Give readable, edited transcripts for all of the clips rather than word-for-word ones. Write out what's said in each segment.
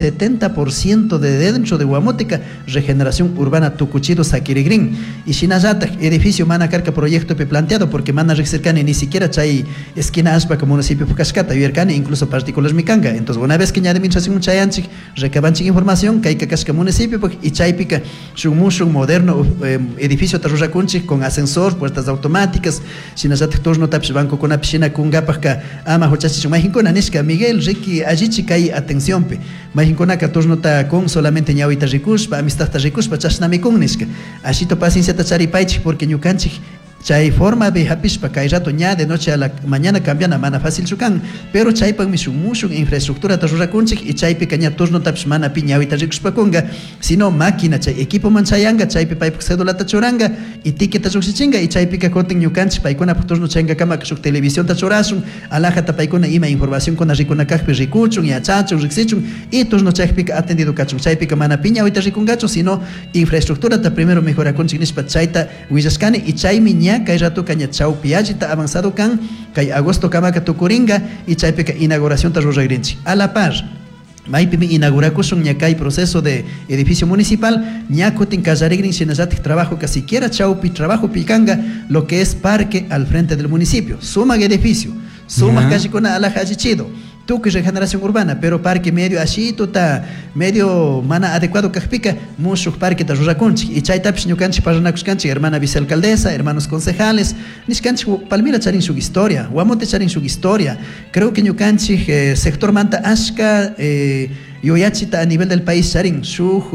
70% de dentro de Guamótica regeneración urbana tucuchido saquirigrin y shinallataj edificio mana karka proyecto pe planteado porque mana riqsirkani ni siquiera chay esquina allpa municipio kashkata yuyarkani, incluso particular mikanga. Entonces, una vez que ña administración chayanchik, recabanchik información kayka kashka municipio y chaypika shuk mushuk moderno edificio ta rurakunchik con ascensor, puertas automáticas, shinallataj turno tapish bancokunapish shina kunkapajka ama huchachichun. Mayjinkuna nishka: "Miguel, riki, allichi kay atenciónpi, mayjinkunaka turnota kun solamente ñawita rikushpa, amistadta rikushpa, chashnami kun" nishka. Ashito pacienciata charipaychik, porque ñukanchik chay forma de hapishpa kay rato ña de noche a la mañana cambiana mana fácil kan, pero chaypakmi shuk mushuk infraestructura ta rurakunchik y chaypika ña turnotapish mana pi ñawita rikushpa kunga, sino máquina chay equipo man chayanga, chaypi paypak cédulata churanga y ticketa lluqshichinga. Y chaypika kutin ñukanchik paykunapak turno chayangakamaka shuk televisionta churashun alajata, paykuna ima información kuna rikuna kajpi rikuchun, yachachun, riksichun y turno chaypika atendido kachun. Chaypika mana pi ñawita rikungachu, sino infraestructurata primero mejorakunchik nishpa chayta willashkani. Y chaymi ña kay ratoka ña chawpi allita avanzado kan, kay agosto kamaka tukuringa y chaypika inauguracionta ruragrinchik. A la par maypimi inaugurakushun ña kay proceso de edificio municipal, ña kutin kallarigrin shinallatik trabajo que siquiera chawpi trabajo pikanga lo que es parque al frente del municipio. Sumak edificio, sumak callecuna alaja allichido, tukuy regeneración urbana, pero parque medio ashituta, medio mana adecuado kajpika mushuk parqueta rurakunchik. Y chaytapish ñukanchik parlanakushkanchik, hermana vicealcaldesa, hermanos concejales, nishkanchik: Palmira charin shuk historia, Guamote charin shuk historia. Creo que ñukanchik sector manta ashka yuyachita a nivel del país charin shuk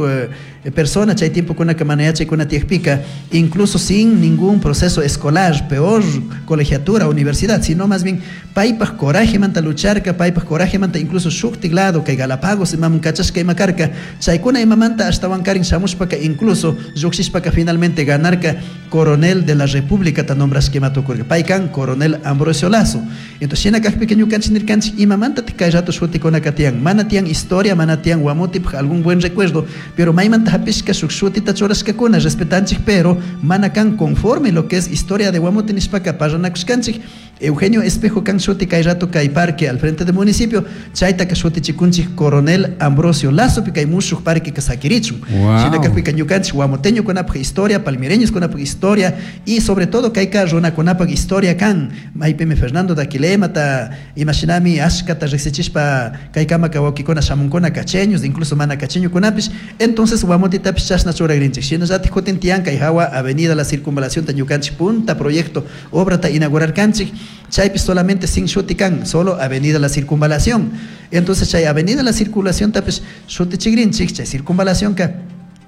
persona chay tiempokunaka mana yachaykuna tiyakpika, incluso sin ningún proceso escolar, peor colegiatura, universidad, sino más bien paypaj coraje manta lucharka, paypaj coraje manta incluso shuktik lado kay Galápagos imaman kachashka ima karka, chaykuna imamanta ashtawan karin shamushpaka, incluso llukshishpaka finalmente ganarka coronel de la República ta nombrashka ima tukurka. Pay kan coronel Ambrosio Lazo. Entonces, shina kakpika ñukanchik nirkanchik: imamanta kay rato shutikunaka tiyan? Mana tiyan historia, mana tiyan Guamotipaj algún buen recuerdo, pero maymanta hapishka shuk shutita churashkakuna, respetanchik, pero mana kan conforme lo que es historia de Guamote nishpaka parlanakushkanchik. Eugenio Espejo kan shuti kay rato kay parque al frente del municipio, chaytaka shutichikunchik coronel Ambrosio Lazo, kay mushuk parque ka sakirichun. Shina kakpika ñukanchik guamoteño kunapaj historia, palmireños kunapaj historia y sobre todo kayka runakunapaj historia kan, maypimi Fernando Daquilemata imashinami ashkata riksichishpa kaykamaka wawkikuna shamunkuna, cacheños, incluso mana cacheñokunapish. Entonces Guamotitapish chashna churagrinchik. Shinallatik kutin tiyan kay hawa avenida La Circunvalación ta ñukanchik punta proyecto obrata inaugurarkanchik, chaypi solamente sin shuti kan, solo avenida La Circunvalación. Entonces, chay avenida La Circunvalación tapish shutichigrinchik. Chay circunvalación ka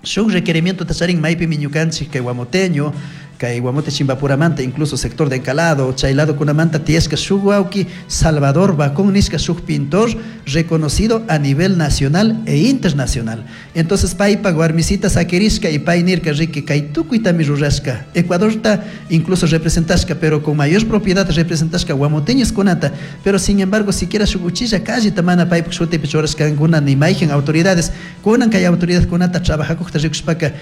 shuk requerimiento ta charin maypimi ñukanchik kay guamoteño, kay Guamote Chimbapuramanta, incluso sector de Encalado, chay lado kunamanta tiyashka shuk wawki Salvador Bacón nishka, shuk pintor reconocido a nivel nacional e internacional. Entonces paypa warmisita sakirishka y pay nirka: "Riki, kay tukuytami rurashka, Ecuadorta incluso representashka, pero con mayor propiedad representashka guamoteños kunata, pero sin embargo siquiera shuk uchilla calleta mana paypak shutipi churashkankuna ni mayhan autoridades". Kunan kay autoridad kunata trabajakukta rikushpaka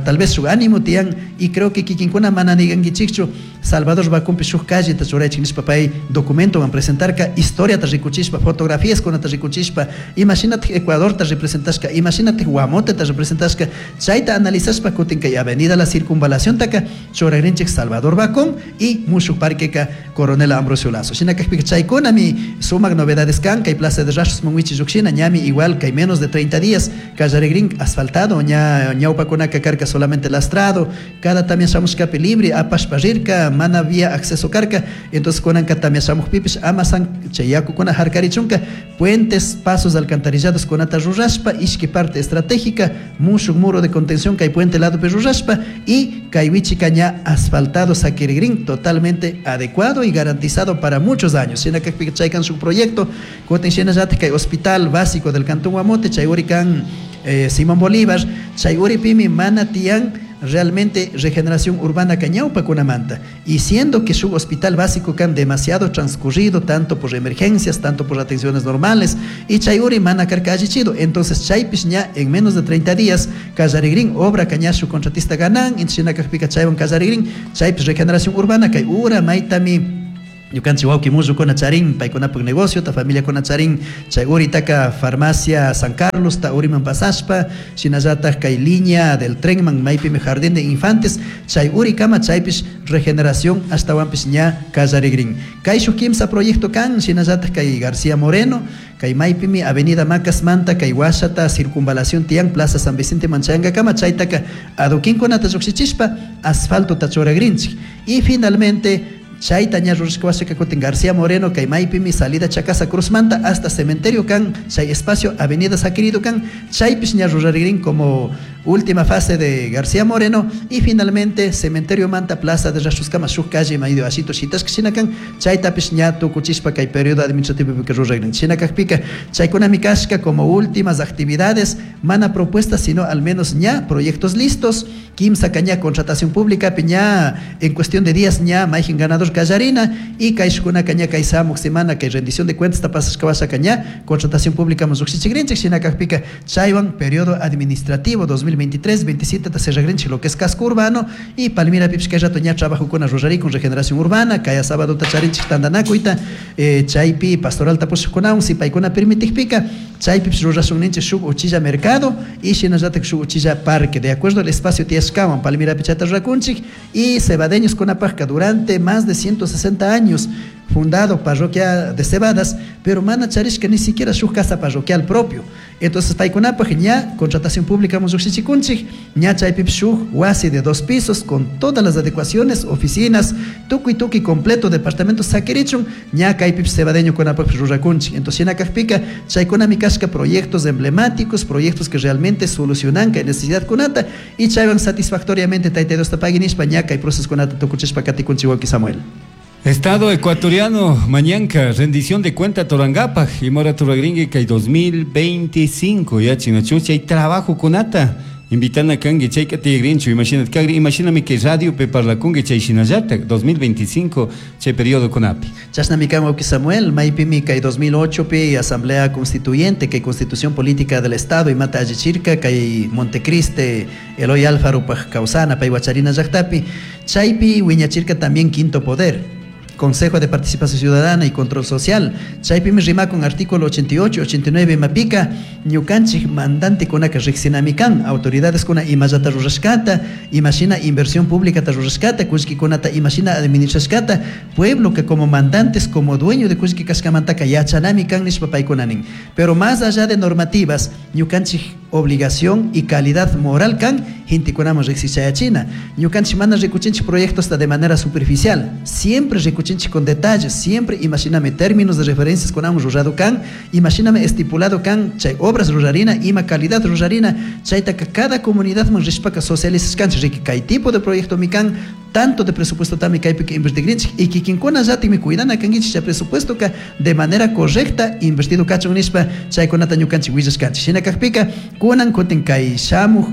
tal vez shuk ánimo tiyan y creo que kikinkuna mana nigankichikchu Salvador Bacunpi shuk calleta churaychik nishpa. Pay documentowan presentarka, historiata rikuchishpa, fotografías kunata rikuchishpa, imashinatik Ecuadorta representashka, imashinatik Guamoteta representashka, chayta analizashpa kutin kay avenida La Circunvalación taka churagrinchik Salvador Bacón y mushuk parqueka Coronel Ambrosio Lazo. Shina kakpika chaykunami sumak novedades kan. Kay Plaza de Rashos manwichi llukshina ñami igual kay menos de 30 días kallarigrin asfaltado. Ña ñawpakunaka karka solamente lastrado, cada tamia shamushkapi libre apashpa rirka, mana había acceso karka. Entonces kunanka tamia shamukpipish ama chay yakukuna harkarichunka puentes, pasos alcantarillados kunata rurashpa, ishki parte estratégica mushuk muro de contención kay puente ladopi rurashpa y kay wichika ña asfaltado sakirigrin, totalmente adecuado y garantizado para muchos años. Shina kakpika chaykan shuk proyecto. Kutin shinallatik kay hospital básico del cantón Guamote, chay urikan Simón Bolívar, chay uripimi mana tiyan realmente regeneración urbana ka ñawpakunamanta, y siendo que su hospital básico kan demasiado transcurrido tanto por emergencias, tanto por atenciones normales, y chay uri mana karka allichido. Entonces chaypish ña en menos de 30 días kallarigrin obra ka ña shuk contratista ganan. Shina kakpika chaywan kallarigrin chaypish regeneración urbana kay ura maytami. Ñukanchik wawki mullukuna charin paykunapak negociota, familiakuna charin chay uritaka farmacia San Carlos ta uriman pasashpa, shinallatak kay línea del trenman maypimi jardín de infantes chay urikama chaypish regeneración ashtawanpish ña kallarigrin. Kay shuk kimsa proyecto kan, shinallatak kay García Moreno, kay maypimi Avenida Macasmanta kay washata circunvalación tiyan Plaza San Vicente manchayankakama chaytaka adoquinkunata llukshichishpa asfaltota churagrinchik. Y finalmente chayta ña rurashka washaka kutin García Moreno kay maypimi salida Chacasa Cruzmanta hasta cementerio kan chay espacio Avenida Saquirido kan chaypish ña rurarigrin como última fase de García Moreno. Y finalmente cementerio manta Plaza de Rashtuskama shuk calle maydo ashito shitashka shina kan chaytapish ña tukuchishpa kay periodo administrativo pika ruragrin. Shina kakpika chaykunami kashka como últimas actividades, mana propuestas sino al menos ña proyectos listos, kimsa ña contratación pública ña en cuestión de días ña mayjin ganador kallarina y kayshkunaka ña kay samuk semana kay rendición de cuentas tapasashka washaka ña contratación pública llukshichikrinchik. Shina kakpika chaywan periodo administrativo 2023-27 ta cerragrinchik lo que es casco urbano y Palmira pipish kay rato ña trabajokuna rurarikun regeneración urbana, kaya sábado ta charinchik tandanakuyta, chaypi pastoral tapushkunawan si paykuna permitikpika chaypipish rurashun ninchik shuk uchilla mercado y shinallatak shuk uchilla parque de acuerdo al espacio tiyashkawan Palmira chayta rurakunchik. Y cebadeños kunapajka durante más de 160 años fundado parroquia de Cebadas, pero mana charishka ni siquiera shuk casa parroquial propio. Entonces paykunapaj ña contratación pública llukshichikunchik, ña chaypipish shuk wasi de 2 pisos con todas las adecuaciones, oficinas, tukuy tukuy completo, departamento sakirichun, ña kaypipish cebadeño kunapajpish rurakunchik. Entonces shina kakpika chaykunami kashka proyectos emblemáticos, proyectos que realmente solucionan kay necesidad kunata y chaywan satisfactoriamente Tayta Diosta pagui nishpa ña kay proceso kunata tukuchishpa katikunchik wawki Samuel. Estado ecuatoriano, mañanka, rendición de cuenta Torangapaj y mora turagringue kay 2025 ya chinachucha y trabajo kunata invitana kangi chay katigrinchu, imagínate kagri, imagíname que radio pe parlakungi chay shinallata 2025 chay periodo kunapi. Chashnami kan wawki Samuel, maypimi kay 2008 pi Asamblea Constituyente kay Constitución Política del Estado imata allichirka kay Montecriste Eloy Alfaro paj kawsana pay wacharina llaqtapi, chaypi wiñachirka también quinto poder, Consejo de Participación Ciudadana y Control Social. Chaypimi rimakun artículo 88, 89 mapika, ñukanchik mandante kunaka riqsinami kan, autoridades kuna imallata rurashkata, imashina inversión pública ta rurashkata, kullkikunata imashina administrashkata, pueblo que como mandantes, como dueño de kullki kashkamantaka yachanami kan nishpa paykuna nin. Pero más allá de normativas, ñukanchik obligación y calidad moral kan, gentekunaman riqsichayachina. Ñukanchik mana rikuchinchik proyectos de manera superficial, siempre rikuchinchik con detalles, siempre imagíname términos de referencias con ambos rurado kan, imagíname estipulado kan, chay obras rurarina, ima calidad rurarina, chaytaka cada comunidad man rishpaka socialistas kan, riki kay tipo de proyecto mi kan, tanto de presupuesto tami kaypi que invertigrinchik y kikinkuna llatikmi cuidana kankichik chay presupuesto ka de manera correcta invertido kachun nishpa chaykunata ñukanchik willashkanchik. Shina kakpika kunan kutin kay shamuj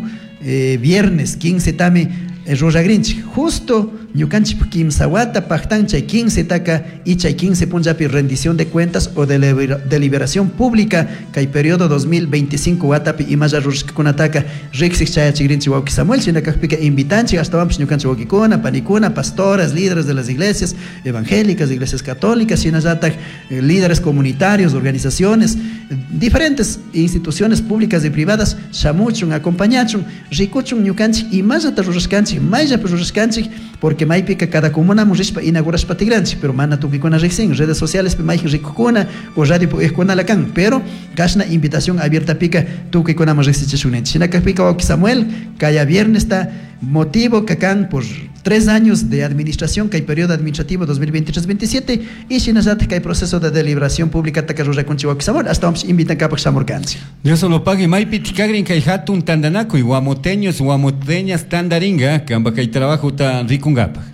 viernes 15 tami ruragrinchik justo ñukanchik kimsa wata pactan chay 15 taka y chay 15 punllapi rendición de cuentas o deliberación pública kay periodo 2025 watapi imalla rurashkakunataka riksik chayachigrinchik wawki Samuel. Shina kakpika invitanchik ashtawanpish ñukanchik wawkikuna, panikuna, pastoras, líderes de las iglesias evangélicas, iglesias católicas, shinallatak líderes comunitarios, organizaciones, diferentes instituciones públicas y privadas shamuchun, acompañachun, rikuchun ñukanchik imallata rurashkanchik, mayllapi rurashkanchik, porque maypika cada comuna rishpa inaugurashpa tigranchik, pero mana tukikuna riksin, redes sociales pi mayjin rikukuna o radio pu kan, pero kashna invitación abierta pika tukikunaman riksichishun ninchik. Shina kakpika wawki Samuel, kaya viernes ta motivo que kan por 3 años de administración, que hay periodo administrativo 2023-27 y shinallatak kay proceso de deliberación pública taka rurakunchik wawki Samuel, hasta vamos invitan kapak shamurkanchik. Dios lo pague, maypi tikagrin kay hatun tandanakuy, guamoteños, guamoteñas tandaringa, kamba kay trabajo ta rikungapaj.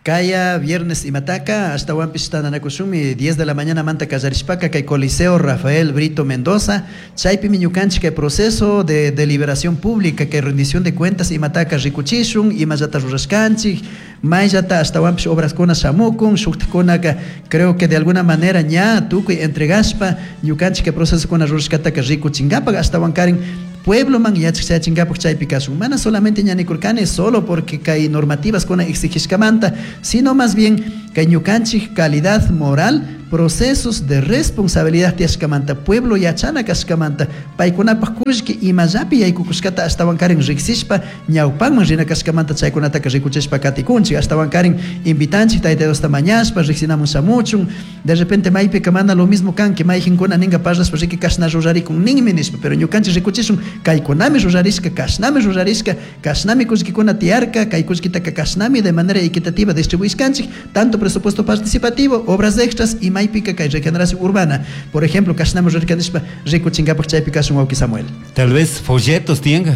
Kaya viernes imataka hasta wampish tandanakushunmi 10 de la mañana manta kallarishpaka kay Coliseo Rafael Brito Mendoza, chaypimi ñukanchik kay proceso de deliberación pública kay rendición de cuentas imataka rikuchishun, imallata rurashkanchik, mayllata hasta wampish obraskuna shamukun, shuktikunaka creo que de alguna manera ña tukuy entregashpa ñukanchik kay procesokuna rurashkataka rikuchinkapak hasta wankarin pueblo man yachak chayachinkapak chaypi kashun. Mana solamente ñanikurkani solo porque kay normativas kuna exigishkamanta, sino más bien Kay ñukanchik calidad moral, procesos de responsabilidad tiyashkamanta, pueblo yachana kashkamanta, paykunapaj kullki imallapi yaykukushkata ashtawankarin riksishpa ñawpanman rina kashkamanta chaykunataka rikuchishpa katikunchik, ashtawankarin invitanchik Tayta Diosta mañashpa riksinamun shamuchun. De repente maypika mana lo mismo kanki, mayjinkuna ninga parlashpa riki kashna rurarikun ninmi nishpa, pero ñukanchik rikuchishun kaykunami rurarishka, kashnami rurarishka, kashnami kullkikuna tiyarka, kay kullkitaka kashnami de manera equitativa distribuishkanchik, tanto presupuesto participativo, obras extras y maypika kay regeneración urbana. Por ejemplo, kashnami rurarka nishpa rikuchinkapak chaypi kashun wawki Samuel. Tal vez folletos tianga.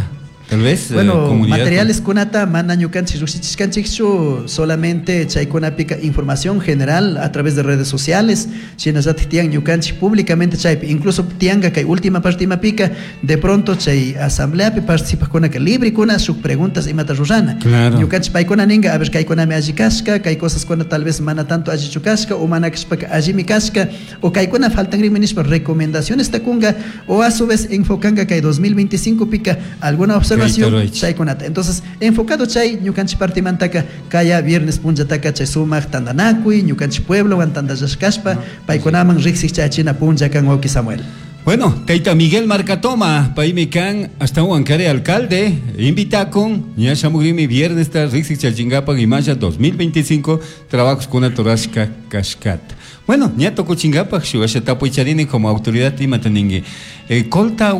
Tal vez, Bueno, materiales kunata mana ñukanchik llukshichishkanchikchu, solamente chaykunapika información general a través de redes sociales, shinallatik tiyan ñukanchik públicamente chaypi, incluso tiyanka kay última parte imapika, de pronto chay asambleapi participajkunaka libre kuna shuk preguntas imata rurana. Claro. Ñukanchik paykuna ninka, a ver, kaykunami alli kashka, kay cosas kuna tal vez mana tanto allichu kashka, o mana kashpaka allimi kashka, o kaykuna faltanrimi nishpa recomendaciones takunga, o a su vez enfocanka kay 2025 pika alguna observación chaykunata. Entonces, enfocado chay ñukanchik partimantaka kaya viernes punllataka chay sumak tandanakuy, ñukanchik pueblo wan tandallashkashpa, paykunaman riksik chaychina punlla kan wawki Samuel. Bueno, Taita Miguel Marcatoma, paymi kan hasta Huancaré alcalde, invita con ña shamugrimi viernes ta riksik chaychingapak imaya 2025 trabajos kuna torashka kashkata. Bueno, ña tukuchingapak shugasha tapuy charini como autoridad imata ningui. Colta,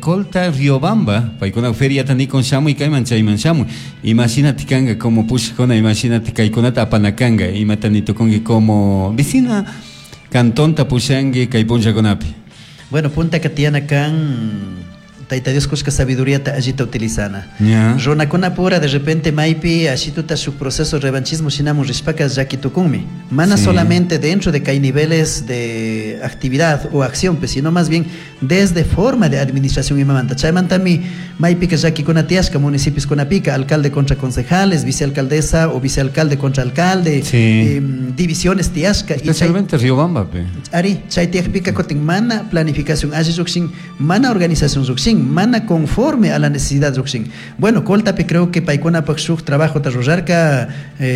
Colta Riobamba, paykuna feria tani con shamuy kayman chayman shamuy. Imagínate kanga como pushkuna, imagínate kaykunata apanakanga, imata ni tukungi como vecina cantón tapushangi kay punllakunapi. Bueno, punta que tiene kan Taita Dios kushka sabiduría ta allita utilizana. Yeah. Runakuna pura de repente maipi ashituta su proceso revanchismo shinamun rishpaka llakitukunmi. Mana Sí. solamente dentro de que hay niveles de actividad o acción, pues, sino más bien desde forma de administración imamanta. Chaymantami maipika llakikuna tiyashka municipios kunapika, alcalde contra concejales, vicealcaldesa o vicealcalde contra alcalde, Sí. divisiones tiyashka. Y chay- Especialmente Riobamba, pe. Ari, chay tiyakpika kutin mana planificación alli llukshin, mana organización llukshin, mana conforme a la necesidad llukshin. Bueno, Coltapi creo que paykunapak shuk trabajo ta rurarka,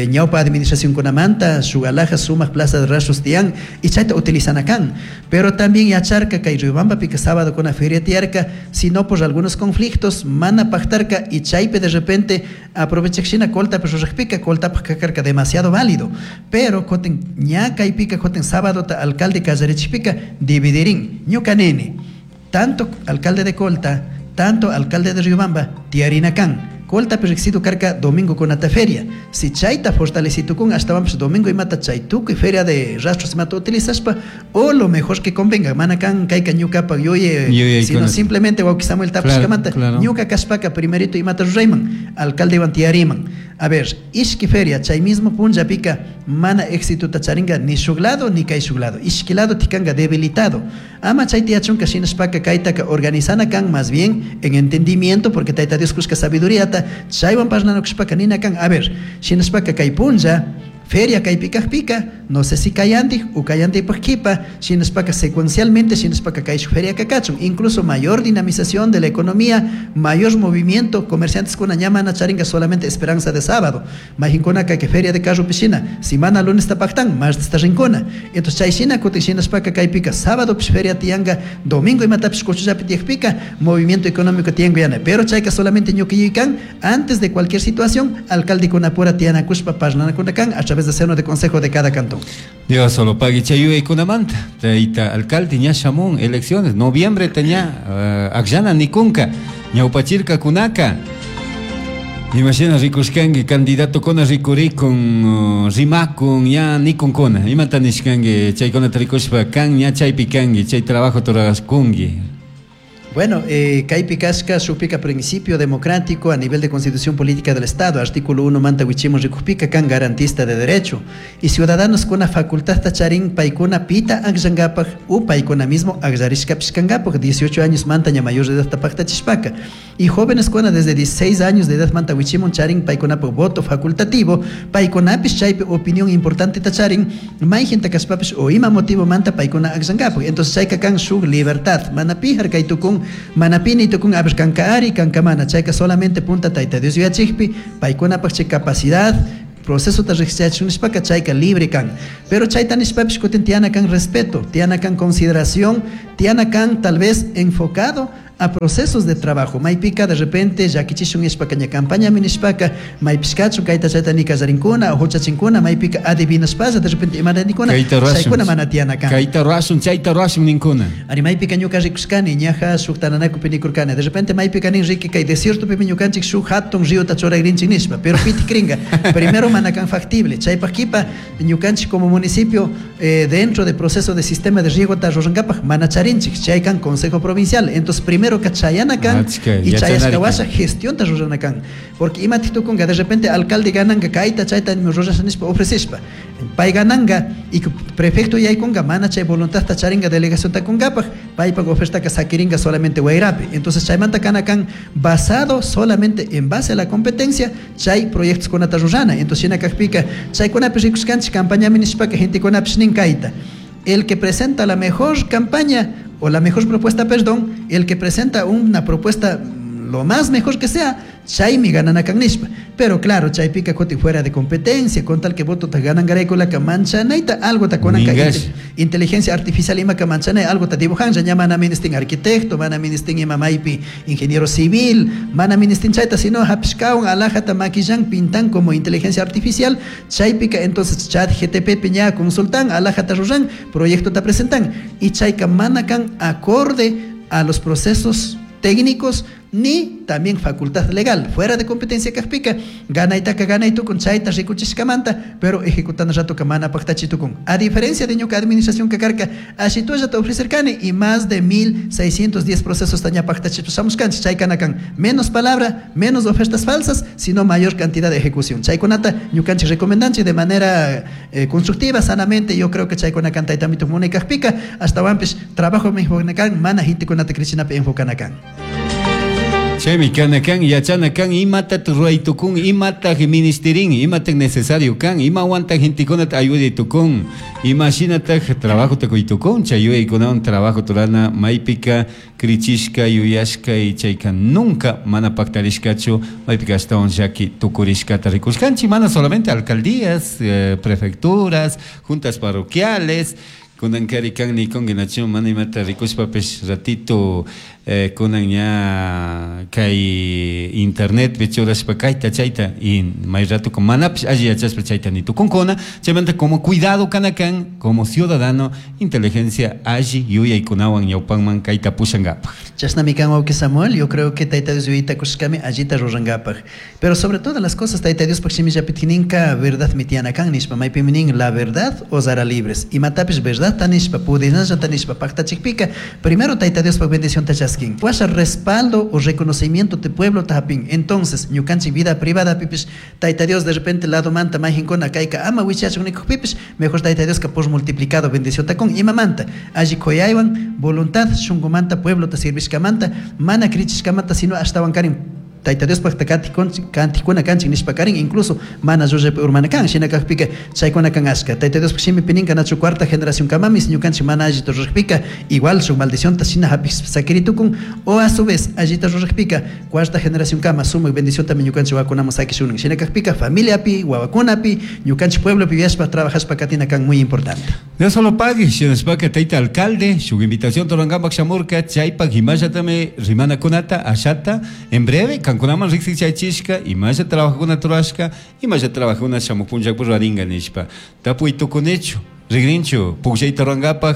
ñawpa administración kunamanta, shuk alhaja sumak plaza de rastros tiyan, y chayta utilizan akan. Pero también yacharka kay Riobamba pika sábado kuna feria tiyarka, sino por algunos conflictos, mana pactarka y chaype de repente aprovechak shina Coltapi rurajpika, Coltapak kakarka demasiado válido. Pero kotin ña kaypika kotin sábado ta alcalde kallarichipika dividirín, ñuka nene, tanto alcalde de Colta, tanto alcalde de Riobamba, tiarina kan. Colta perrexido carca domingo con ata feria. Si chayta fortalecito con hasta vamos domingo y mata chaytuco y feria de rastros y mata utilizaspa, o lo mejor que convenga, mana kan kayka ñuka pa yoye, Yoye, sino con simplemente wauki Samuel Tapos Claro, kamanta, claro. ñuka kaspaka primerito y mata rurayman, alcalde iban tiariman. A ver, ishki feria, chay mismo punlla pica, mana éxito tacharinga ni shuglado ni kay shuglado. Ishki lado tikanga debilitado. Ama chay tiachunka shinaspaka kaytaka organizana kan más bien en entendimiento, porque tayta Dios kushka sabiduría ta, chaywan parlano kushpaka nina kan. A ver, shinaspaka kay punlla, feria kay pikaj pika, no sé si kayandi o kayandi kipa, shinaspaka secuencialmente, shinaspaka kay shu feria kakachun. Incluso mayor dinamización de la economía, mayor movimiento, comerciantes kuna ñama na charinga solamente esperanza de sábado. Majinkuna ka que feria de carro piscina, simana lunes tapactan, martes ta rincona. Entonces chay shina kuti shinaspaka kay pika, sábado pis feria tianga, domingo imata pis kochullapi tiaj pika, movimiento económico tiango yana. Pero chayka solamente ñuqiyuykan, antes de cualquier situación, alcalde kuna pura tiana kushpa parnana kuna kan, a través de seno de consejo de cada cantón. Dios solo pague chayuy kunamanta. Taita alcalde ña shamun elecciones noviembre teña akllana nikunka ñawpachirka kunaka. Imagina rikushkanki candidato kona rikurikun, rimakun ña nikun kona. Imata nishkanki chaykunata rikushpa kan ña chaypi kanki chay trabajo turaskunki. Bueno, kaypi kashka shukpika principio democrático a nivel de constitución política del Estado, artículo 1 manta wichimun rikujpika kan garantista de derecho y ciudadanos kuna facultad tacharin paykuna pita akllankapak u paykuna mismo akllarishkapish kankapak 18 años manta ña mayor de edad tapaktachishpaka y jóvenes kuna desde 16 años de edad manta wichimun charin paykunapak voto facultativo paykunapish chaypi opinión importante tacharin mayjinta kashpapish o ima motivo manta paykuna akllankapak. Entonces chayka kan shuk libertad mana pijar kay tukun manapini tukun a ver kanka ari kanka mana chayka solamente punta tayta Dios yuyachikpi paykunapak chay capacidad Procesota riqsichachun nishpaka chayka libre kan. Pero chayta nishpapish kutin tiyana kan respeto, tiyana kan consideración, tiyana kan tal vez enfocado a procesos de trabajo. Maypika de repente llakichishun nishpaka ña campañami nishpaka maypishkachun kayta chayta nikallarinkuna o huchachinkuna, maypika adivinashpalla de repente imaranikuna, chaykuna mana tiyana kan. Kayta rurashun, chayta rurashun ninkuna. Ari maypika ñuka rikushkani, ñaja shuk tananakupi nikurkani. De repente maypika nin riki kay desiertopimi ñukanchik shuk hatun riota churagrinchik nishpa, pero pitik ringa. Primero mana kan factible. Chaypaq kipa ñukanchik como municipio dentro del proceso de sistema de riego ta rurankapak mana charinchik, chay kan consejo provincial. Entonces primero que chayana kan y chayashka washa gestión ta rurana kan, porque ima tukunga de repente alcalde gananga kayta chayta rurasha nishpa ofrecishpa pay gananga y prefecto yaykunga mana chay voluntad ta charinga delegación ta kunkapaj paypak oferta ka sakiringa solamente wayrapi. Entonces chaymanta kana kan basado solamente en base a la competencia chay proyectos kunata rurana. Entonces shina kajpika chaykunapi rikushkanchik campañami nishpaka gentekunapish nin kayta, el que presenta la mejor campaña o la mejor propuesta, perdón, el que presenta una propuesta lo más mejor que sea, chaymi ganana kan nishpa. Pero claro, chaypika kuti fuera de competencia, con tal que voto ta ganan garay ka manchanaita, algo ta konan ka inteligencia artificial ima ka manchanay, algo ta dibujan, ya mana ministin arquitecto, mana ministin ima maypi ingeniero civil, mana ministin chayta, sino hapishkawan alhaja ta maquillan, pintan como inteligencia artificial, chaypika entonces chat GTP piña consultan, alhaja ta ruran, proyecto ta presentan, y chayka mana kan acorde a los procesos técnicos ni también facultad legal, fuera de competencia kajpika, ganaytaka ganaytukun chayta rikuchishkamanta, pero ejecutando rato mana paqtachitukun. A diferencia de ñuka administración kakarka, ashitulla ta ofrecerkani y más de 1610 procesos taña paqtachitushamushkanchik, chaykana kan menos palabra, menos ofertas falsas, sino mayor cantidad de ejecución. Chaykunata ñukanchik recomendanchik de manera constructiva, sanamente. Yo creo que chaykuna kan taytamituk munay kajpika, hasta wampis trabajo kan mana gentekunata krichinapi enfocanakan. Chaymi kana kan, yachana kan, imata ruray tukun, imata ministerin, imata necesario kan, imawanta gentekunata ayuday tukun, imashinata trabajo takuy tukun, chay yuyaykunawan trabajo turana maypika krichishka yuyashka y chayka nunca mana pactarishkachu, maypika ashtawan llaki tukurishkata rikushkanchik, mana solamente alcaldías, prefecturas, juntas parroquiales, kunankari kan nikunki nachu mana imata rikushpapish ratito kunan ña kay internet churashpa kayta chayta y may rato manapish alli yachashpa chayta nitukunkuna. Chaymanta como cuidado kana kan como ciudadano inteligencia alli yuyaykunawan ñawpanman kayta pushankapaj. Chashnami kan wawqi Samuel, yo creo que Tayta Dios yuyayta kushkami allita rurankapaj, pero sobre todas las cosas Tayta Diospaj shimillapitkininka verdad mitiana kan nishpa, maypimi nin la verdad os hará libres, imatapish verdad tanishpa pudinalla tanishpa paqtachikpika primero Tayta Diospaj bendición ta chaskin, washa respaldo o reconocimiento de pueblo tapin. Entonces ñukanchik vida privada pipish Tayta Dios de repente lado manta mayjinkuna kayka ama wichachun nikuq pipish mejor Tayta Dios ka por multiplicado bendición ta kun imamanta alli kuyaywan voluntad shunqumanta pueblo ta servishkamanta mana krichishkamanta sino ashtawan karin Tayta Diospaj kantikuna kanchik nishpa karin, incluso mana llullapi urmana kan, shina kajpika chaykuna kan ashka. Tayta Diospaj shimipi ninka nachu cuarta generación kamamis ñukanchik mana allita rurajpika igual shuk maldición ta shina hapik sakiritukun, o a su vez allita rurajpika cuarta generación kama sumak bendición tami ñukanchik wawakunaman sakishunin. Shina kajpika familiapi, wawakunapi, ñukanchik pueblopi viashpa trabajashpa katina kan muy importante. Dios solo pague, shinashpaka tayta alcalde, shuk invitación torangapak shamurka, chaypak imashatami rimana kunata, ashata, en breve, kankunaman riqsik chaychishka, imasha trabajuna turashka, imasha trabajuna shamupunchakpu ruwaringa nishpa. Tapuy tukunichu, rigrinchu, pukllayta ruwankapaj,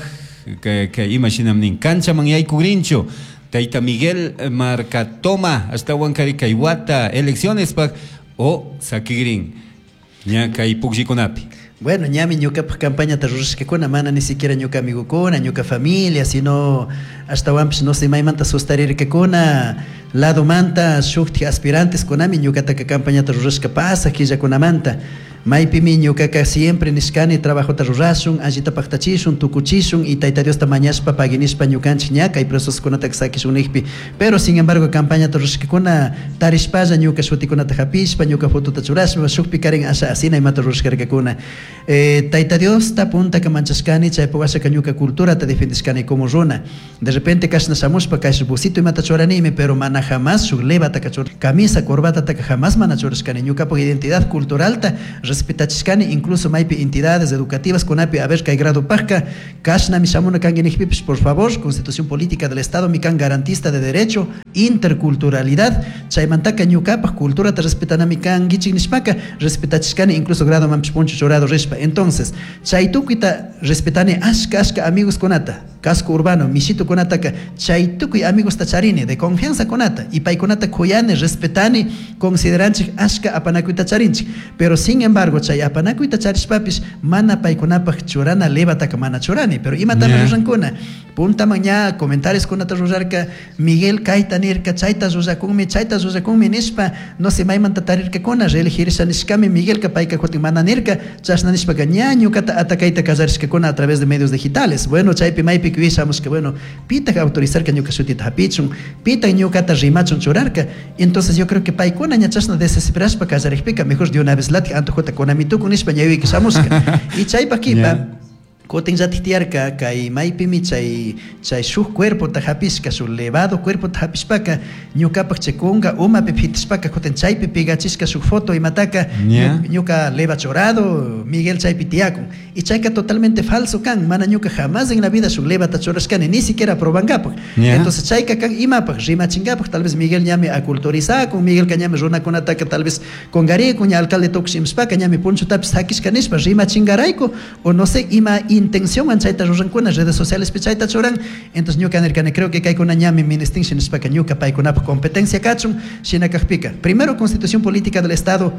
que imashinam nin, kanchaman yaykugrinchu, Tayta Miguel Marcatoma, hasta Huancari Kaiwata, elecciones pak, o sakigrin, ña kay pukllikunapi. Bueno, ñami ñukapaj campaña ta rurashkakuna, mana ni siquiera ñuka amigokuna, ñuka familia, sino hasta wampis no sé maymanta sustarirkakuna, lado manta shukti aspirantes kunami ñukataka campaña ta rurashka pasaj killakunamanta. Maypimi ñukaka siempre nishkani trabajota rurashun, allita paqtachishun, tukuchishun y Tayta Diosta mañashpa paginishpa ñukanchik ña kay procesokunata sakishun nijpi. Pero sin embargo campañata rurashkakuna tarishpalla ñuka shutikunata hapishpa, ñuka fotota churashpa, shukpi karin asha asina imata rurashkarkakuna. Tayta Diosta puntaka manchashkani, chaypa washaka ñuka culturata defendishkani como runa. De repente kashna shamushpa kash busito imata churanimi, pero mana jamás shuk levataka chur, camisa, corbatata jamás mana churashkani. Ñukapaj identidad culturalta Respetachishkani, incluso maypi entidades educativas kunapi, a ver, kay gradopajka kashnami shamuna kanki nijpipish, por favor, Constitución Política del Estado mi kan garantista de derecho, interculturalidad, chaymantaka ñukapaj culturata respetanami kankichik nishpaka respetachishkani, incluso gradomanpish puncho churado rishpa. Entonces, chay tukuyta respetani, ashka ashka amigos kunata, casco urbano mishitukunataka, chay tukuy amigosta charini de confianza kunata, y paykunata kuyani, respetani, consideranchik, ashka apanakuyta charinchik. Pero sin embargo, chay apanakuyta charishpapish mana paykunapaj churana levataka mana churani. Pero imatami rurankuna, puntaman ña comentarios kunata rurarka, Miguel kayta nirka, chayta rurakunmi, chayta rurakunmi nishpa, no sé maymanta tarirkakuna, reelegirsa nishkami Miguelka, payka kutin mana nirka, chashna nishpaka ña ñukata atakayta kallarishkakuna a través de medios digitales. Bueno, chaypi maypi que bueno, pitak autorizarka ñuka shutita hapichun, pitak ñukata rimachun churarka. Entonces yo creo que paykuna ña chashna desesperashpa kallarikpika, mejor de una vez latik antojota kunamitukun nishpa ñawiki shamushka. Y chaypa kipa kutin llatik tiyarka kay maypimi chay chay shuk cuerpota hapishka, shuk levado cuerpota hapishpaka ñukapaj chay kunga umapi pitishpaka kutin chaypi pigachishka shuk foto imataka ñuka leva churado, Miguel chaypi tiyakun, y chayka totalmente falso kan, mana ñuka jamás en la vida shuk levata churashkani, ni siquiera probankapaj. Entonces chayka kan imapaj rimachinkapaj, tal vez Miguel ñami aculturizakun, Miguelka ñami runakunataka tal vez kongarikun, ña alcalde tukush imashpaka ñami punchutapish sakishka nishpa rimachingarayku, o no sé ima intención chayta rurankuna redes sociales pi chayta churan. Entonces ñuka nirkani, creo que kaykuna ñami ministin nishpaka ñuka paykunapaj competencia kachun. Shina kajpika, primero Constitución Política del Estado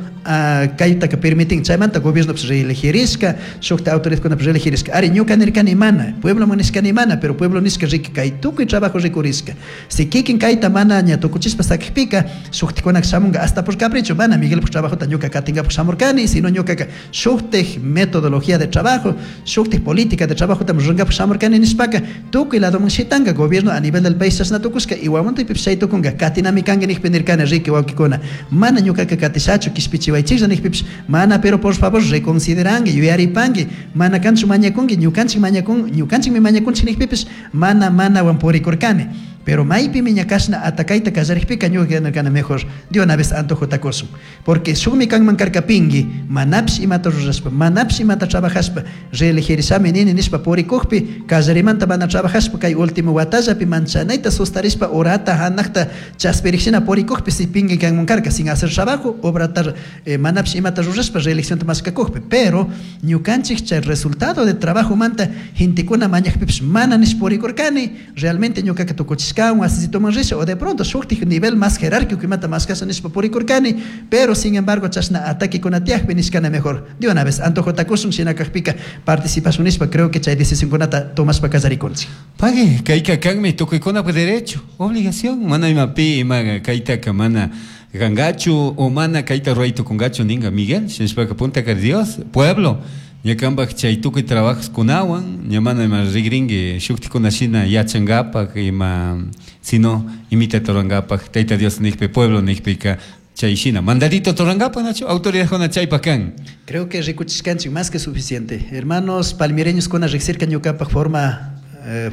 kaytaka permitin, chaymanta gobierno reelegirishka, shukta autoridadkunapish reelegirishka. Ari ñuka nirkani mana, pueblo nishkani mana, pero pueblo nishka riki kay tukuy trabajo rikurishka, si kikin kayta mana ña tukuchishpa sakijpika shuktikunaka shamunga hasta por capricho. Mana Miguelpaj trabajota ñuka katinkapaj shamurkani, sino ñukaka shuktik metodología de trabajo, shuktik política de trabajo tam rurankapak shamurkani nishpaka tukuy ladoman shitanka gobierno a nivel del país chashna tukushka, y Guamontepipish chay tukunka katinami kanki nijpi nirkani, riki wawkikuna, mana ñukaka katishachu, kishpichiwaychiklla nijpipish mana, pero por favor reconsideranki, yuyaripanki, mana kanchu mañakunki, ñukanchik mañakun, ñukanchikmi mañakunchik nijpipish mana manawan purikurkani. Pero maypimi ña kashna atakayta kallarikpika ñuka nirkani mejor de una vez antojota kushun, porque shukmi kanman karka pinki, manapish imata rurashpa, manapish imata trabajashpa reelegirishami nini nishpa purikukpi kallarimanta mana trabajashpa kay último watallapi manchanayta sustarishpa urata hanakta chaspirikshina purikukpi si pinki kanman karka sin hacer trabajo, obrata manapish imata rurashpa reeleccionta mashkakukpi. Pero ñukanchik chay resultado de trabajo manta gentekuna mañakpipish mana nish purikurkani, realmente ñukaka tukuchishka asisitoman risha, o de pronto shuktik nivel más jerárquico imata más kasha nishpa purikurkani. Pero sin embargo chashna ataque kunatiakpi nishkana mejor de una vez antojota kushun, shina kajpika participación nishpa, creo que chay decisión kunata tomashpa kallarikunchik. Pague, kayka kanmi tukuykunapaj derecho, obligación, mana imapi ima kaytaka mana gangachu o mana kayta ruraytukungachu ninga Miguel, shinashpaka puntaka Dios, pueblo, ñakanpaj chay tukuy trabajos kunawan, ña mana ima rigrinki shuktikuna shina yachankapak ima sino imita turankapak Tayta Dios nijpi pueblo nijpika chay shina mandadito turankapak nachu autoridadkuna chaypak kan. Creo que rikuchishkanchik más que suficiente. Hermanos palmireños kuna riksirka ñukapaj forma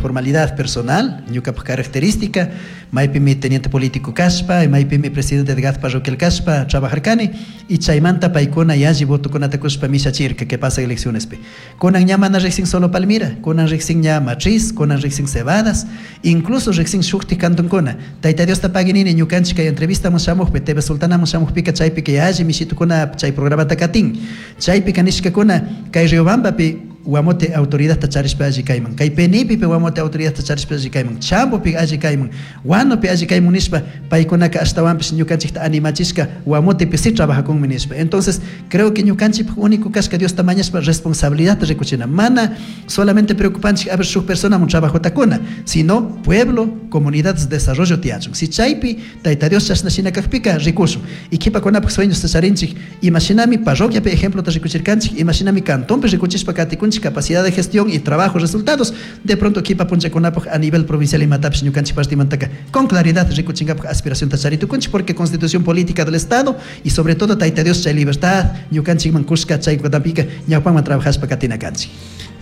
formalidad personal, ñukapaj característica, maypimi teniente político kashpa, maypimi presidente de GAD parroquial kashpa trabajarkani, y chaymanta paykuna yalli votokunata kushpa mishachirka que pasa eleccionespi. Kunan ña mana riksin solo Palmira, kunan riksin ña Matriz, kunan riksin Cebadas, incluso riksin shuktik kantonkuna. Tayta Diosta paginini ñukanchik kay entrevistaman shamukpi, TV Sultanaman shamukpika chaypika yalli mishitukuna chay programata katin. Chaypika nishkakuna kay Riobambapi Guamote autoridad charishpa alli kayman, kay Penipipi Guamote autoridad charishpa alli kayman, Chambopi alli kayman, Huánupi alli kayman nishpa paykunaka ashtawanpish ñukanchikta animachishka Guamotepi sí trabajakunmi nishpa. Entonces creo que ñukanchikpak único kashka Diosta mañashpa responsabilidad rikuchina, mana solamente preocupanchik a ver shuk personamun trabajota kuna, sino pueblo, comunidades, desarrollo tiyachun. Si chaypi Tayta Dios chashna shina kajpika rikushun. Y kipakunapak sueños charinchik, imashinami parroquiapi ejemplota rikuchirkanchik, imashinami cantonpi rikuchishpa katikunchik capacidad de gestión y trabajo, resultados, de pronto kipa punchakunapaj a nivel provincial imatapish ñukanchik partimantaka con claridad rikuchinkapaj aspiración tacharitukunchik, porque Constitución Política del Estado y sobre todo Tayta Dios chay libertad ñukanchikman kushka chay kutanpika ñawpanman trabajashpa katina kanchik.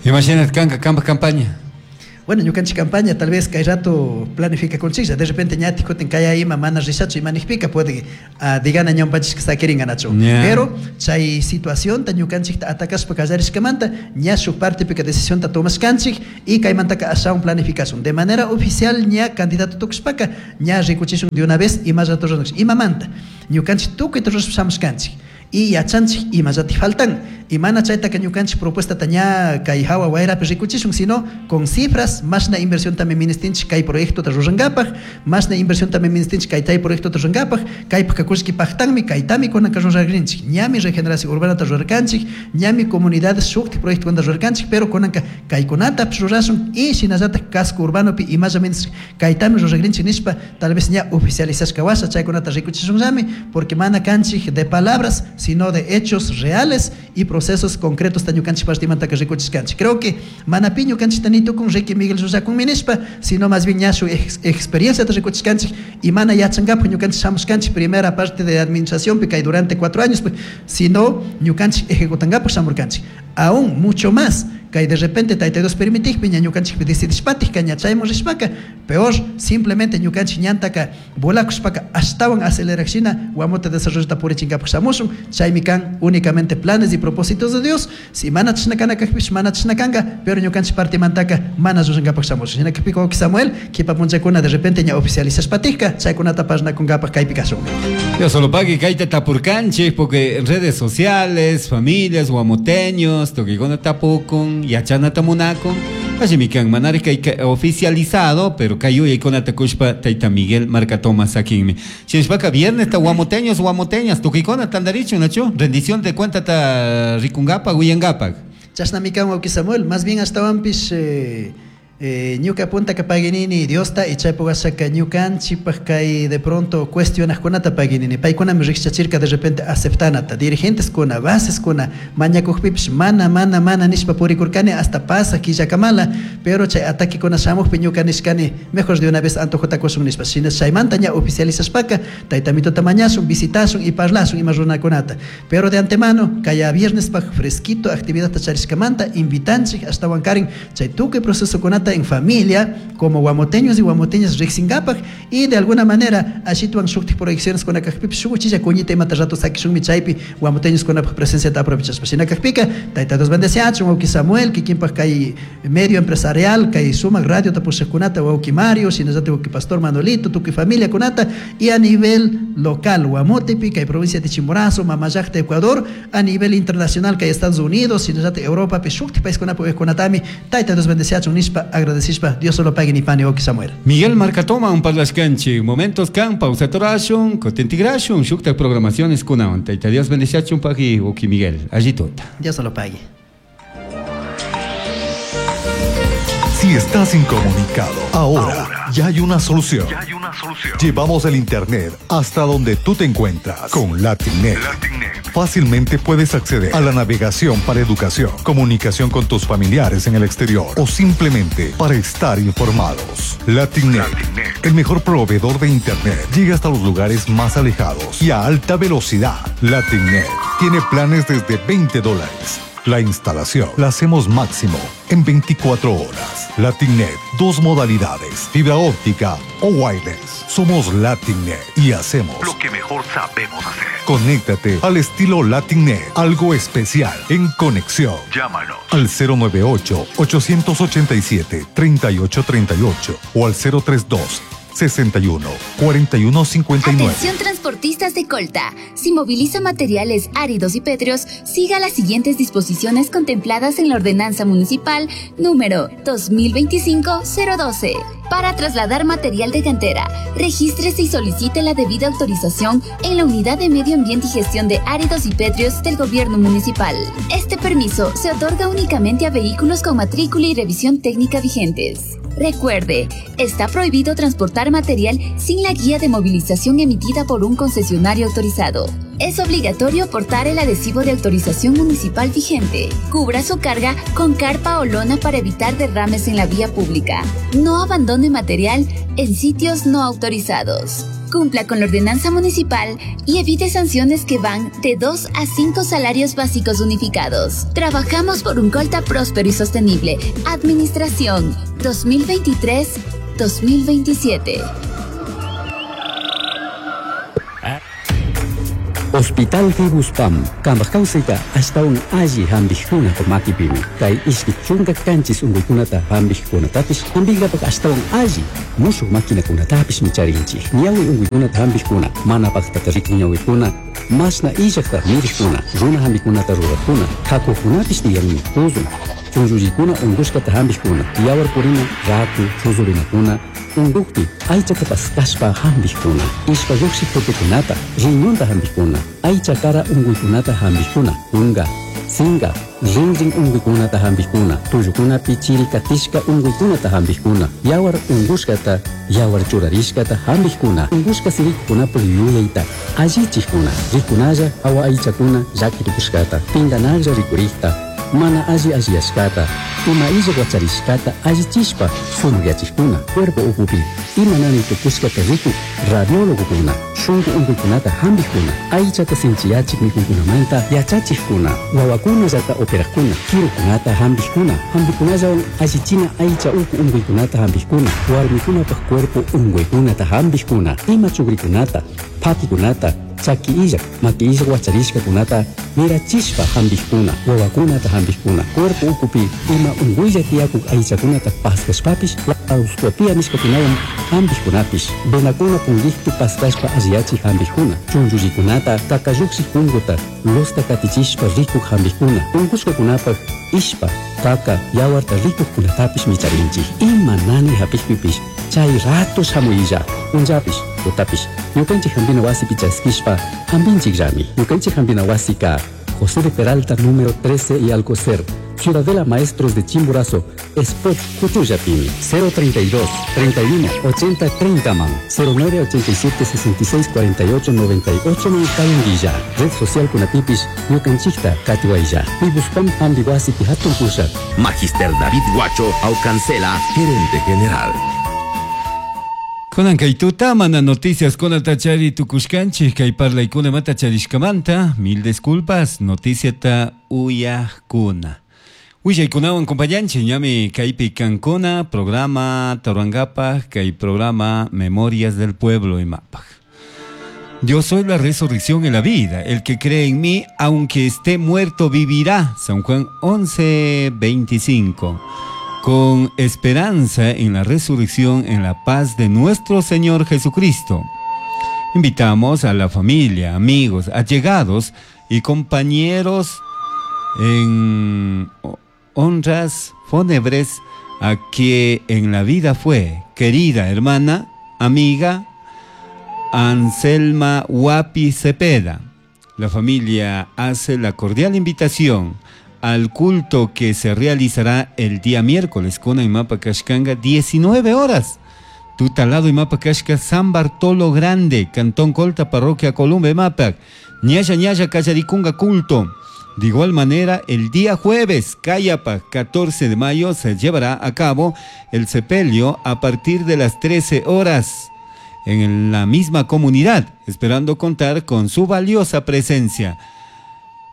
Imagínate kanka kampa campaña. Bueno, ñukanchik campaña tal vez kay rato planificakunchiklla, de repente ñatik kutin kaya ima mana rishachu ima nijpika puede digana ñawpanchishka saquiringanachu. Pero chay situacionta ñukanchikta atacashpa kallarishkamanta ña shuk partepika decisionta tomashkanchik y kaymantaka ashawan planificación. De manera oficial ña candidato tukushpaka ña rikuchishun de una vez imallata ruranchik. Imamanta ñukanchik tukuyta rurashpa shamushkanchik y yachanchik imallati faltan y mana chaytaka ñukanchik propuestata ña kay hawa wayrapi rikuchishun, sino con cifras mashna inversión también ministinchik kay proyectota rurankapak, mashna inversión también ministinchik kay tay proyectota rurankapak, kaypaka kullki paktanmi kaytami kunanka ruragrinchik, ñami regeneración urbanata rurarkanchik, ñami comunidades shuktik proyectokunata rurarkanchik, pero kunanka kaykunatapish rurashun y shinallatak casco urbanopi imalla ministinchik kaytami ruragrinchik nishpa tal vez ña oficializashka washa chaykunata rikuchishunllami, porque mana kanchik de palabras sino de hechos reales y procesos concretos ñukanchik partimantaka rikuchishkanchik. Creo que mana pi ñukanchikta ni tukun Ricky Miguel llullakun nishpa, sino más bien ña shuk experienciata rikuchishkanchik y mana yachankapak ñukanchik shamushkanchik primera parte de administración kay durante 4 años, pues, sino ñukanchik ejecutankapak shamurkanchik. Aún mucho más kay de repente Tayta Dios permitikpi ña ñukanchikpi decidishpatik ña chayman rishpaka, peor simplemente ñukanchik ñantaka volakushpaka ashtawan acelerakshina Guamote desarrollo purichinkapak shamushun, chaymi kan únicamente planes y propósitos de Dios. Si mana chashna kana kajpish mana chashna kanka, pero ñukanchik partimantaka mana llullankapaq shamushun. Shina kajpika wawqi Samuel, kipa punchakuna de repente ña oficializashpatikka chaykunata parnakunkapak kaypi kashun. Dios solo pague kayta tapurkanchik, porque en redes sociales, familias, guamoteños, tukikuna tapukun, yachanata munakun, así kan manari kay oficializado, pero kayuya kunata kushpa tayta Miguel Marcatoma sakinmi. Shinshpaka viernes ta guamoteños, guamoteñas, tukikuna tandarichu, nachu, rendición de cuenta ta rikungapa, huyangapa. Chashnami kan wawqi Samuel, más bien ashtawanpish ñuka puntaka paginini Diosta y chaypuk ashaka ñukanchikpak kay de pronto cuestionajkunata paginini, paykunami rikchachirka de repente aceptanata, dirigentes kuna, bases kuna, mañakukpipish mana, mana, mana nishpa purikurkani hasta pasa killakamala, pero chay ataquekuna shamukpi ñuka nishkani mejor de una vez antojota kushun nishpa, shina chaymanta ña oficializashpaka taytamitota mañashun, visitashun y parlashun ima runakunata, pero de antemano kaya viernes pak fresquito actividadta charishkamanta invitanchik ashtawan karin chay tukuy procesokunata en familia como guamoteños y guamoteñas riksinkapak y de alguna manera ashituan shuktik proyecciones kuna kajpipish shuk uchilla kuñita imata rato sakishunmi chaypi guamoteños kunapaj presenciata aprovechashpa. Shina kajpika Tayta Dios bendeciachun wawqi Samuel kikinpaj kay medio empresarial kay sumak radio tapushajkunata wawqi Mario shinallatak wawqi Pastor Manolito tukuy familia kunata y a nivel local Guamotepi kay provincia de Chimborazo Mamallakta Ecuador a nivel internacional kay Estados Unidos shinallatak Europa pi shuktik paiskunapi kunatami Tayta Dios bendeciachun nishpa agradecishpa Dios solo pague ni pane wawqi Samuel. Miguel Marcatoma un parlashkanchik momentos kan pausa torashun cotentigration shukta programaciones kunawan Tayta Dios bendeciachun pagi wawqi Miguel allí tota. Dios solo pague. Si estás incomunicado, ahora ya hay una solución. Llevamos el internet hasta donde tú te encuentras con LatinNet. Fácilmente puedes acceder a la navegación para educación, comunicación con tus familiares en el exterior o simplemente para estar informados. LatinNet, el mejor proveedor de internet, llega hasta los lugares más alejados y a alta velocidad. LatinNet tiene planes desde $20. La instalación la hacemos máximo en 24 horas. LatinNet, 2 modalidades, fibra óptica o wireless. Somos LatinNet y hacemos lo que mejor sabemos hacer. Conéctate al estilo LatinNet, algo especial en conexión. Llámanos al 098-887-3838 o al 032 61 41 59. Atención transportistas de Colta. Si moviliza materiales áridos y pétreos, siga las siguientes disposiciones contempladas en la Ordenanza Municipal número 2025-012. Para trasladar material de cantera, regístrese y solicite la debida autorización en la Unidad de Medio Ambiente y Gestión de Áridos y Pétreos del Gobierno Municipal. Este permiso se otorga únicamente a vehículos con matrícula y revisión técnica vigentes. Recuerde, está prohibido transportar material sin la guía de movilización emitida por un concesionario autorizado. Es obligatorio portar el adhesivo de autorización municipal vigente. Cubra su carga con carpa o lona para evitar derrames en la vía pública. No abandone material en sitios no autorizados. Cumpla con la ordenanza municipal y evite sanciones que van de 2 a 5 salarios básicos unificados. Trabajamos por un Colta próspero y sostenible. Administración 2023-2027. Hospital Fibuspam, kambaj kawsayta ashtawan alli hampikkunapa makipimi. Kay ishki chunka kanchis unkuykunata hampikkunatapish hampinkapak ashtawan alli mushuk maquinakunatapishmi charinchik. Ñawi unkuykunata hampikkuna, mana paktata rikun ñawikuna, mashna illakta mirikkuna, runa hampikunata rurakkuna, kakukunapish tiyanmi tuzun. Chunllullikuna unkushkata hampikkuna, yawar purina, raku, chuzurinakuna, unkukpi aychata paskashpa hampikkuna, ishpa lluksik tutukunata, riñonta hampikkuna, aycha kara unkuykunata hampikkuna, kunka, sinka, rinrin unkuykunata hampikkuna, tullukunapi chiri katishka unkuykunata hampikkuna, yawar unkushkata, yawar churarishkata hampikkuna, unkushka sirikukunapuk yuyayta allichikkuna, rikunalla awa aychakuna llakitukushkata, pinkanaklla rikurikta, mana alli alliyashkata, ima illak wacharishkata allichishpa sumakyachikuna, cuerpo ukupi ima nani tukushkata rikuk radiólogokuna, shunku unkuykunata hampikkuna, aychata sinchiyachik mikuykunamanta yachachikkuna, wawakunallata operakkuna, kirukunata hampikkuna, hampikunallawan allichina aycha uku unkuykunata hampikkuna, warmikunapak cuerpo unkuykunata hampikkuna, ima chukrikunata, pakikunata, chaki illak, maki illak wacharishkakunata mirachishpa hampikkuna, wawakunata hampikkuna, cuerpo ukupi ima unkuylla tiyakuk aychakunata paskashpapish laparoscopia nishkakunawan hampikkunapish, venakuna punkikpi paskashpa alliyachik hampikkuna, chunllullikunata kakalluksik punkuta losta katichishpa rikuk hampikkuna, unkushkakunapak ishpa, kaka, yawarta rikukkunatapish micharinchik. Ima nani hapikpipish chay rato shamuylla, punllapish, tutapish, ñukanchik hampina wasipi chaskishpa hampinchikllami. Ñukanchik hampina wasika José de Peralta número 13 y Alcocer, Ciudadela Maestros de Chimborazo, Spot Cuchuyapimi, 032 31 80 30 man, 09 87 66 48 98 man Kayunguilla, Red Social Kunatipis, Ñukanchikta Katiwaylla, Pibuspam Hambiwasi Pihatun Pusha. Magister David Guacho Aucancela, gerente general. Kunan kay tutamana noticias kunata chari tukushkanchik kay parlaykuna mata charishkamanta, mil disculpas, noticiata uyajkuna. Willaykunawan compañanchik ñami kaypi kankuna programa Taruangapaj kay programa Memorias del Pueblo imapaj. Yo soy la resurrección y la vida. El que cree en mí, aunque esté muerto, vivirá. San Juan 11:25. Con esperanza en la resurrección, en la paz de nuestro Señor Jesucristo. Invitamos a la familia, amigos, allegados y compañeros en honras fúnebres a que en la vida fue querida hermana, amiga Anselma Huapi Cepeda. La familia hace la cordial invitación al culto que se realizará el día miércoles con Imapa Kashkanga, 19 horas. Tutalado Imapa Kashka, San Bartolo Grande, Cantón Colta, Parroquia Columba, Imapac. Ñaya Ñaya Cayaricunga, culto. De igual manera, el día jueves, Cayapa, 14 de mayo, se llevará a cabo el sepelio a partir de las 13 horas en la misma comunidad, esperando contar con su valiosa presencia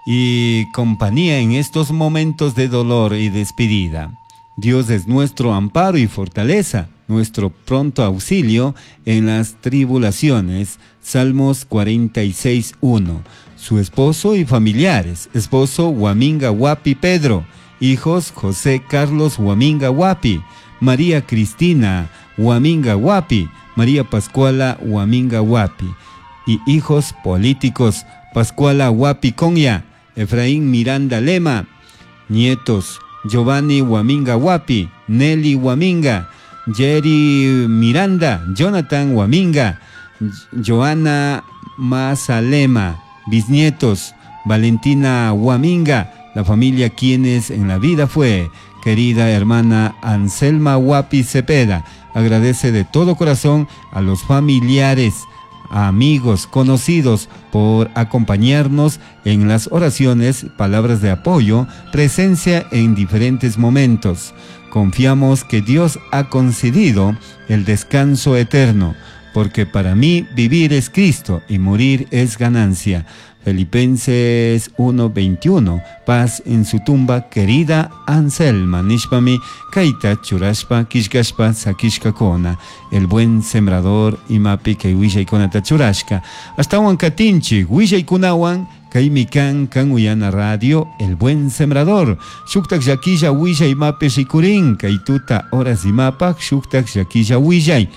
y compañía en estos momentos de dolor y despedida. Dios es nuestro amparo y fortaleza, nuestro pronto auxilio en las tribulaciones. Salmos 46:1. Su esposo y familiares, esposo Huaminga Huapi Pedro, hijos José Carlos Huaminga Huapi, María Cristina Huaminga Huapi, María Pascuala Huaminga Huapi, y hijos políticos Pascuala Huapi Conya, Efraín Miranda Lema, nietos Giovanni Huaminga Huapi, Nelly Huaminga, Jerry Miranda, Jonathan Huaminga, Joana Mazalema, bisnietos Valentina Huaminga, la familia quienes en la vida fue querida hermana Anselma Huapi Cepeda. Agradece de todo corazón a los familiares, Amigos, conocidos, por acompañarnos en las oraciones, palabras de apoyo, presencia en diferentes momentos. Confiamos que Dios ha concedido el descanso eterno, porque para mí vivir es Cristo y morir es ganancia. Filipenses 1:21. Paz en su tumba, querida Anselma. Nishpami, kaita churashpa, kishkashpa, sakishkakuna. El buen sembrador, imapi kay willaykunata churashka. Ashtawan katinchi, willaykunawan, kaymi kan kan uyana radio, El Buen Sembrador. Shuktak llakilla willay imapi rikurin, kay tuta horas imapak, shuktak llakilla willay.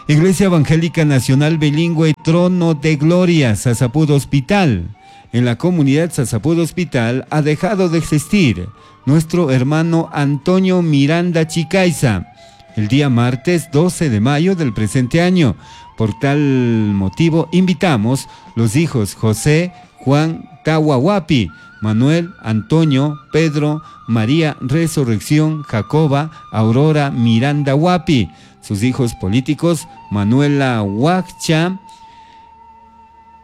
Iglesia Evangélica Nacional Bilingüe Trono de Gloria, Sasapud Hospital. En la comunidad Sasapud Hospital ha dejado de existir nuestro hermano Antonio Miranda Chicaiza el día martes 12 de mayo del presente año. Por tal motivo invitamos los hijos José, Juan Tahuahuapi, Manuel, Antonio, Pedro, María Resurrección, Jacoba, Aurora Miranda Huapi, sus hijos políticos Manuela Huaccha,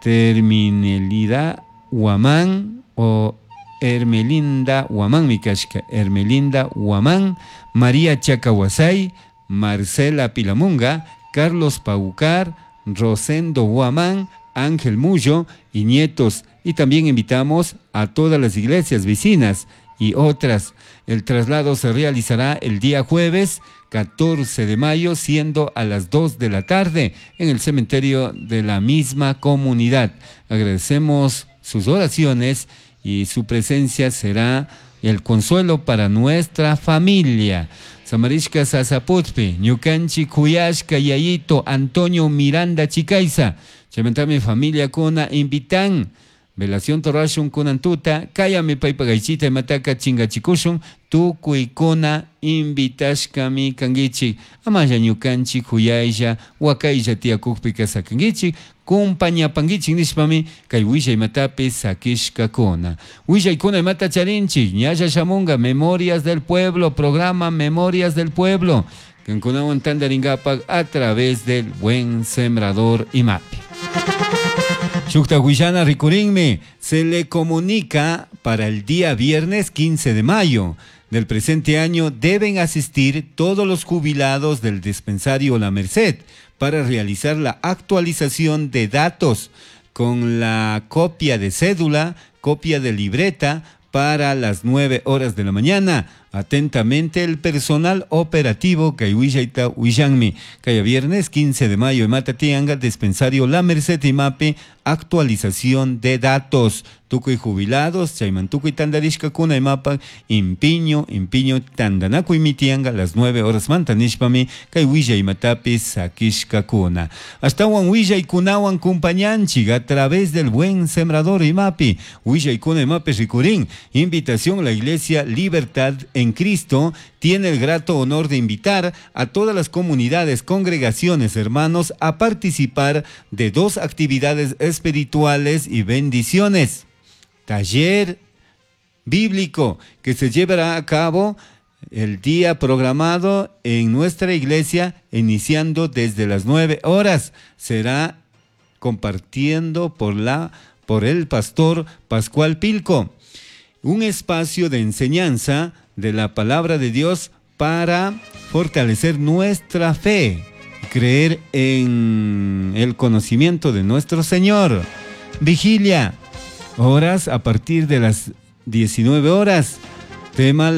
Terminelida Huamán o Hermelinda Huamán, mi kashka, Hermelinda Huamán, María Chacahuasay, Marcela Pilamunga, Carlos Paucar, Rosendo Huamán, Ángel Mullo y nietos. Y también invitamos a todas las iglesias vecinas y otras. El traslado se realizará el día jueves 14 de mayo, siendo a las 2 de la tarde, en el cementerio de la misma comunidad. Agradecemos sus oraciones y su presencia será el consuelo para nuestra familia. Samarishka Sasaputpi, Ñukanchi Kuyashka Yayito, Antonio Miranda Chicaiza, Chaymantami familia kuna invitan. Velación torashun kunan tuta, kayami paypa gaychita imataka chingachikushun, tukuykuna invitashkami kankichik, amalla ñukanchik kuyaylla, wakaylla tiyakukpika sakankichik, kumpañapankichik nishpami kay willay imatapi sakishkakuna. Willaykuna imata charinchik, ñalla shamunga Memorias del Pueblo, programa Memorias del Pueblo, kankunawan tantarinkapak a través del Buen Sembrador Imapi. Shukta Huillana rikurinmi, se le comunica para el día viernes 15 de mayo del presente año deben asistir todos los jubilados del dispensario La Merced para realizar la actualización de datos con la copia de cédula, copia de libreta para las 9 horas de la mañana. Atentamente el personal operativo kay willayta willanmi. Kay viernes 15 de mayo en Matatianga, dispensario La Merced imapi, actualización de datos. Tukuy jubilados, chayman tukuy tandarishkakuna imapa, impiño, impiño, tandanakuy mitianga, las 9 horas mantanishpami, kay willay imatapi sakishkakuna. Ashtawan willaykunawan kumpañanchik a través del Buen Sembrador imapi, willaykuna imapi rikurin, invitación a la Iglesia Libertad en Cristo tiene el grato honor de invitar a todas las comunidades, congregaciones, hermanos, a participar de 2 actividades espirituales y bendiciones. Taller bíblico que se llevará a cabo el día programado en nuestra iglesia, iniciando desde las 9 horas. Será compartiendo por el pastor Pascual Pilco. Un espacio de enseñanza de la palabra de Dios para fortalecer nuestra fe, creer en el conocimiento de nuestro Señor. Vigilia, horas a partir de las 19 horas. Tema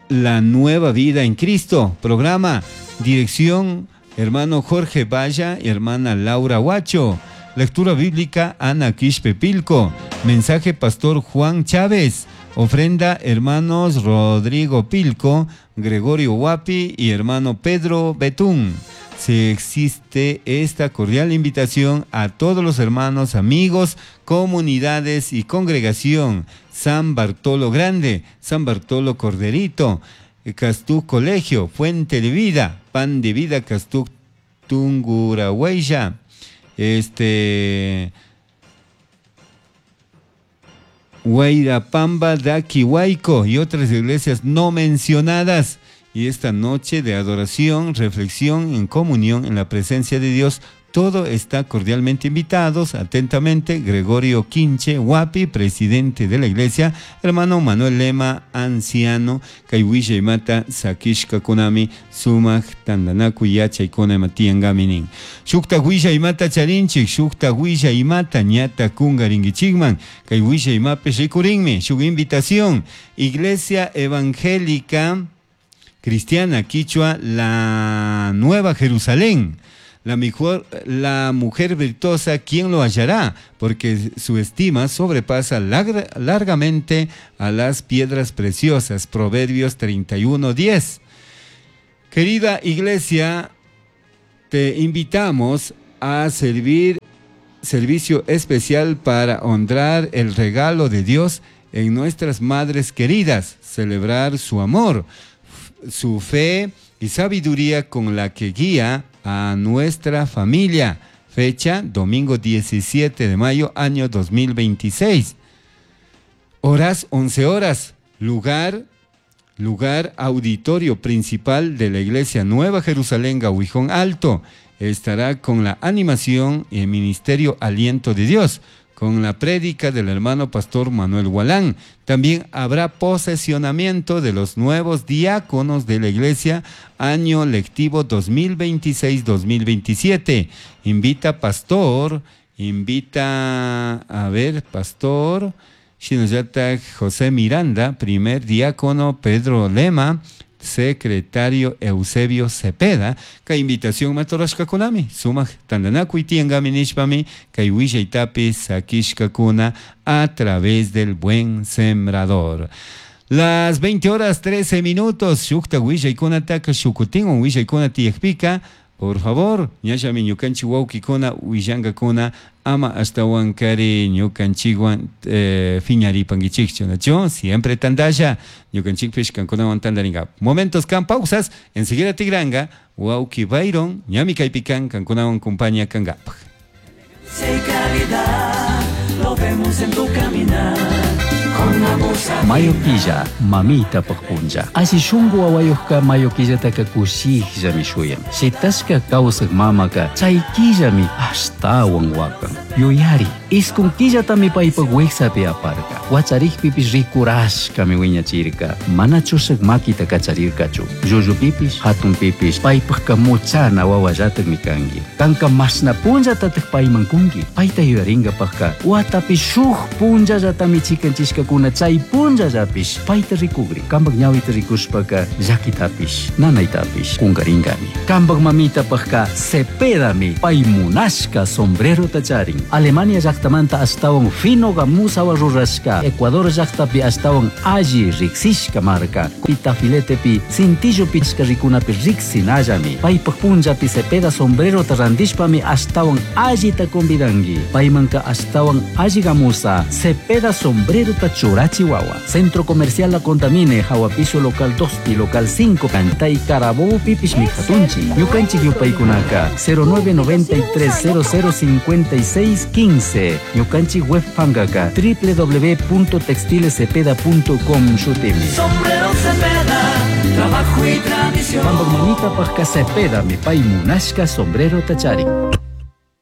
La Nueva Vida en Cristo. Programa, dirección, hermano Jorge Valla y hermana Laura Huacho. Lectura bíblica, Ana Quispe Pilco. Mensaje, pastor Juan Chávez. Ofrenda, hermanos Rodrigo Pilco, Gregorio Huapi y hermano Pedro Betún. Se existe esta cordial invitación a todos los hermanos, amigos, comunidades y congregación. San Bartolo Grande, San Bartolo Corderito, Castú Colegio, Fuente de Vida, Pan de Vida, Castú Tungurahuella, Huayrapamba, Daquihuayco y otras iglesias no mencionadas. Y esta noche de adoración, reflexión en comunión en la presencia de Dios, Todo está cordialmente invitados. Atentamente, Gregorio Quinche Huapi, presidente de la iglesia, hermano Manuel Lema, anciano, kay willaymata sakishkakunami sumak tantanakuy yachaykuna ima tiyankami nin. Shukta willaymata charinchik, shukta willaymata ñata kunkarinkichikman, kay willaymapish rikurinmi, shuk invitación, Iglesia Evangélica Cristiana Quichua, la Nueva Jerusalén. La mujer virtuosa, ¿quién lo hallará? Porque su estima sobrepasa largamente a las piedras preciosas. Proverbios 31:10. Querida iglesia, te invitamos a servir servicio especial para honrar el regalo de Dios en nuestras madres queridas, celebrar su amor, su fe y sabiduría con la que guía a nuestra familia. Fecha, domingo 17 de mayo, año 2026. Horas, 11 horas. Lugar, auditorio principal de la Iglesia Nueva Jerusalén, Gahuijón Alto. Estará con la animación y el ministerio Aliento de Dios, con la prédica del hermano pastor Manuel Gualán. También habrá posesionamiento de los nuevos diáconos de la iglesia, año lectivo 2026-2027. Invita pastor, pastor Shinayata José Miranda, primer diácono Pedro Lema, secretario Eusebio Cepeda, kay invitación matorashkakunami, sumak tantanakuy tiyankami nishpami, kay willaytapi sakishkakuna a través del Buen Sembrador. Las 20:13, shukta willaykunataka shukutinwan willaykuna tiyakpika, por favor, ñallami ñukanchik wawkikuna willankakuna ama ashtawankari ñukanchikwan fiñaripankichikchu, ¿nachu? Siempre tantalla, ñukanchikpish kankunawan tantarinka. Momentos kan pausas, enseguida tigranga, wawki Byron, ñami kaypikan kankunawan compañía kankapaj. Calidad, lo vemos en tu caminar. Mayo killa, mamita punlla. Así shungu wawayuqqa mayo killataka kushikllami shuyan. Shitashka kawsaq mamaka chay killami ashtawan wakan. Yuyari, iskun killatami paypaq wiksapi aparka. Wacharikpipish rikurashkami wiñachirka. Mana chushaq makita kacharirkachu. Llullupipish, hatunpipish, paypaqqa muchana wawallataqmi kanki. Kanka mashna punllatataq payman kunki. Payta yuyarinkapaqqa watapi shuk punllallatami chikanchishkakuna chay punllallapish payta rikugri. Kampak ñawita rikushpaka llakitapish, nanaytapish kunkarinkami. Kampak mamitapaqqa Cepedami pay munashka sombrerota charin. Alemania llaqtamanta ashtawan fino gamusawa rurashka, Ecuador llaqtapi ashtawan alli riksishka marka. Pitafiletepi cintillopi rikunapi riksinallami. Paypaq punllapi Cepeda sombrerota rantishpami ashtawan allita convidanki. Paymanka ashtawan alli gamusa Cepeda sombrerota churachiwawa. Centro Comercial La Contamine, Hawa Piso local 2 y local 5, Cantay Carabobo pipish mijatunchi. Ñukanchik yupaykunaka 0993 0056 15. Ñukanchik web pangaka www.textilescepeda.com shutimi. Sombrero Cepeda, trabajo y tradición. Mamita pajka Cepeda mi pay munashka sombrero tacharin.